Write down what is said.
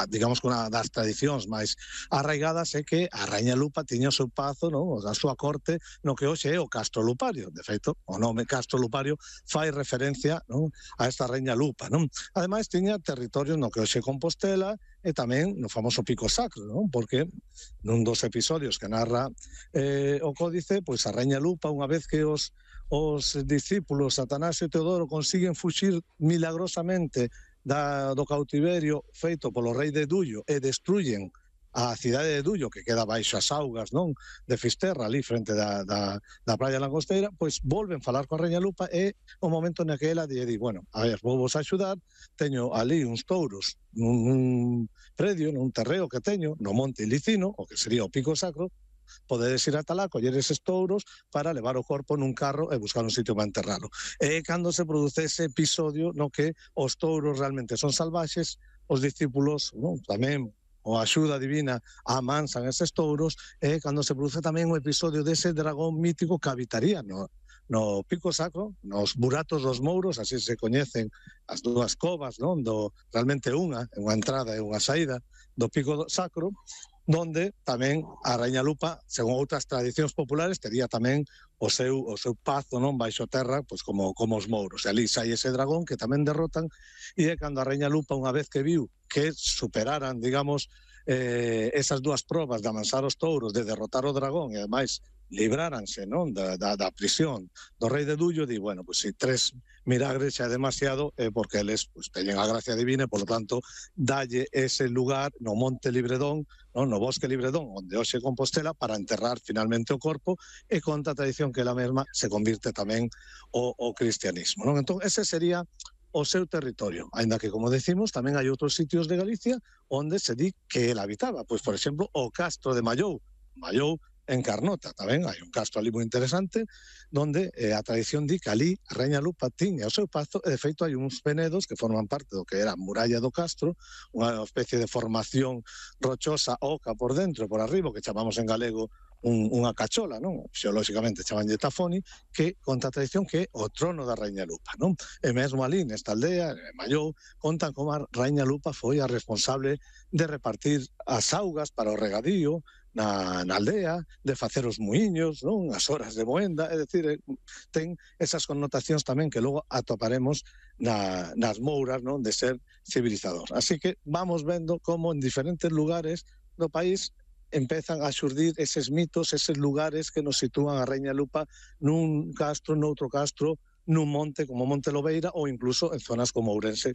digamos que unha das tradicións máis arraigadas é que a Raíña Lupa tiña o seu pazo, non, a súa corte no que hoxe é o Castro Lupario. De feito, o nome Castro Lupario fai referencia, non, a esta Raíña Lupa, non? Ademais, tiña territorio no que hoxe é Compostela e tamén no famoso Pico Sacro, non? Porque nun dos episodios que narra o códice, pois a Raíña Lupa, unha vez que os discípulos Satanás e Teodoro consiguen fuxir milagrosamente do cautiverio feito polo rei de Dullo e destruyen a cidade de Dullo, que queda baixo as augas, non, de Fisterra, ali frente da praia langosteira, pois volven falar coa Raíña Lupa e o momento na que ela lle di, bueno, a ver, vou vos axudar, teño ali uns touros nun predio, nun terreo que teño no Monte Ilicino, o que sería o Pico Sacro, podedes ir ata lá, coller eses touros para levar o corpo nun carro e buscar un sitio para enterralo. E cando se produce ese episodio no que os touros realmente son salvaxes, os discípulos, non, tamén o axuda divina amansan eses touros, e cando se produce tamén o episodio dese dragón mítico que habitaría no Pico Sacro, nos buratos dos Mouros, así se coñecen as dúas covas, non, realmente unha entrada e unha saída do Pico Sacro, donde tamén a Raíña Lupa, según outras tradicións populares, tería tamén o seu pazo, non, baixo terra, pois como os Mouros. E ali sai ese dragón que tamén derrotan, e é cando a Raíña Lupa, unha vez que viu que superaran, digamos, esas dúas probas de amansar os touros, de derrotar o dragón, e ademais libráranse, non, da prisión do rei de Dullo, di, bueno, pois se 3 milagres xa é demasiado, porque eles pois teñen a gracia divina e, por lo tanto, dalle ese lugar no Monte Libredón, non, no Bosque Libredón, onde hoxe é Compostela, para enterrar finalmente o corpo, e conta a tradición que ela mesma se convirte tamén o cristianismo, non? Entón, ese sería o seu territorio, aínda que, como decimos, tamén hai outros sitios de Galicia onde se di que ela habitaba, pois, por exemplo, o Castro de Mallou en Carnota, tamén hai un castro ali moi interesante, donde a tradición di que ali a Raíña Lupa tiña o seu pazo, e de feito hai uns penedos que forman parte do que era a muralla do castro, unha especie de formación rochosa oca por dentro e por arriba, que chamamos en galego unha cachola, non? Xeolóxicamente chamanlle Tafoni, que conta a tradición que é o trono da Raíña Lupa, non? E mesmo ali nesta aldea, en Mallou, contan como a Raíña Lupa foi a responsable de repartir as augas para o regadío na aldea, de facer os muiños, non? As horas de moenda, é dicir, ten esas connotacións tamén que logo atoparemos nas mouras, non? De ser civilizador. Así que vamos vendo como en diferentes lugares do país empezan a xurdir eses mitos, eses lugares que nos sitúan a Raíña Lupa nun castro, noutro castro, nun monte como Monte Lobeira ou incluso en zonas como Ourense.